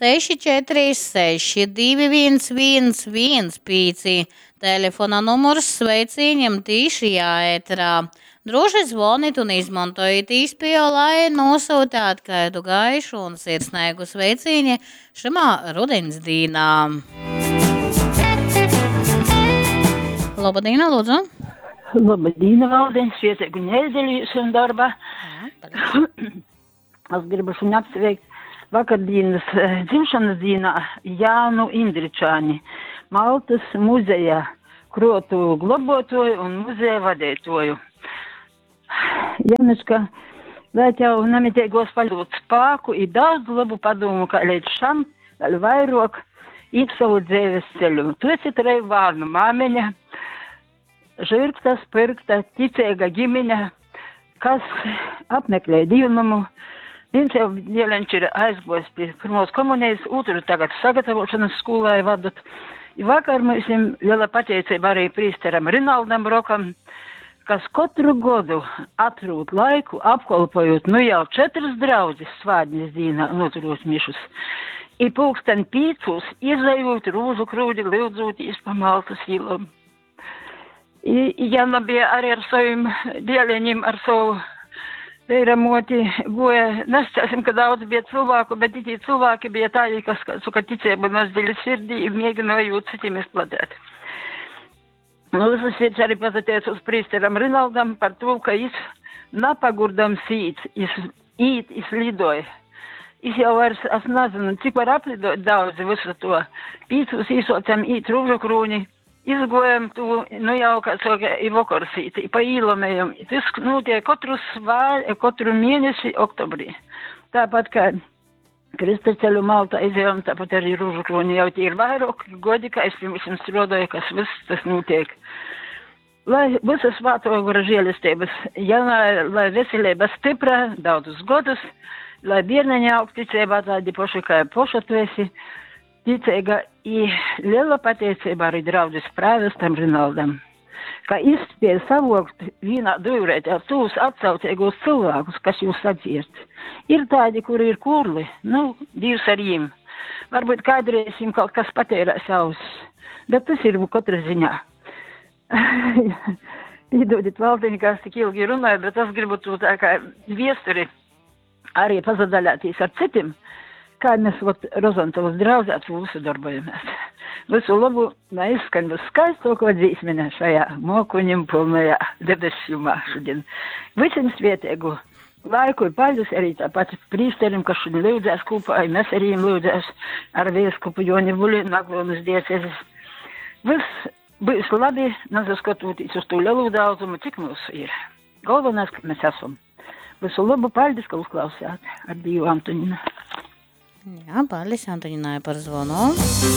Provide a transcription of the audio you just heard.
646 211 15. Telefona numurs sveicīņam tīšajā ēterā. Droši zvonit un izmantojit īspēju, lai nosūtāt kādu gaišu un sirsnīgu sveicīņu šimā rudens dīnā. Labadīna, lūdzu. Labadīna, Valdiņ, svietēgu nedēļu jūs un darbā. Jā, paldies. Es gribu šodien apsveikt vakardienas dzimšanas dienā Jānu Indričāni, Maltas muzeja krotu globotoju un muzeja vadētoju. Januška, lai tev namitīgos paļūt spāku i daudz labu padomu, kā līdz šam, vēl vairāk, īt savu dzīves ceļu. Tu esi treju vārnu māmeņa, žirgta, spirgta, ticīga ģimene, kas apmeklē dīvnamu. Viens jau dieleņš ir aizgojis pie pirmos komunijas, otru tagad sagatavošanas skolā vadat. I vakar mums liela pateicība arī prīsteram Rinaldam Rokam, kas katru godu atrūt laiku, apkolpojot nu jau četras draudzes svādnes dīnā noturot mišus. I pulksten pīcūs izejot rūžu krūdi, lyudzūtīs pa Maltas īlom. I Jana bija arī ar saviem dieleņiem, ar savu veiramoti goja. Nesacīsim, ka daudz bija cilvēku, bet tie cilvēki bija tādi, kas, kā saka, ticību nes dziļi sirdī i mēģināja citiem izplatīt. Nu, visas sirds arī pazateicos prīsteram Rinaldam par to, ka jis napagurdams īt, jis īt, jis lidoja. Jis jau vairs, es nezinu, cik var aplidot daudz visu to. Pīcūs īsocam īt rūžu krūni, izgojam tu, nu jau, kā saka, i vokors īt, i pa īlom ejam. I tas notiek katru svā, katru mēnesi oktobrī. Tāpat kā Krystaceļu Maltā izejam, tāpat arī rūžu krūni jau tie ir vairāk godi, kā es pie mums strādāju, kas viss tas notiek. Lai visas svāto gora žēlestības, ja lai, lai veselība stipra daudzus godus, lai bērniņi aug ticībā tādi paši, kā poša tu esi, ticīga i liela pateicība arī draudzes prāvestam Rinaldam, ka izspēja savokt vienā dūrētā tos atsaucīgos cilvēkus, kas jūs sadzird. Ir tādi, kuri ir kurli, nu, Dievs ar jiem. Varbūt kādreiz viņiem kaut kas patērēs ausis, bet tas ir katra ziņā. Piedodiet, Valdiņ, ka es tik ilgi runāju, bet es gribu to tā kā viesturi arī pazadaļāties ar citiem, kā mēs vot Rozantovas draudzē ar to visu darbojamies. Visu labu, lai izskan viskaistāko dzīsmene šajā mokuņiem pilnajā debesjumā šodien. Visiem svētīgu laiku ir paļus arī tāpat prīsterim, kas šodien lūdzās kopā, mēs arī viņiem lūdzās ar vīskupu Joni Buļi, Naglonas diecezes. Viss būs labi, nesaskatoties uz to lielu daudzumu, cik mūsu ir. Galvenais, ka mēs esam. Visu labu, paldies, ka uzklausījāt. Ar Dievu, Antonina. Jā, paldies Antoninai par zvanu.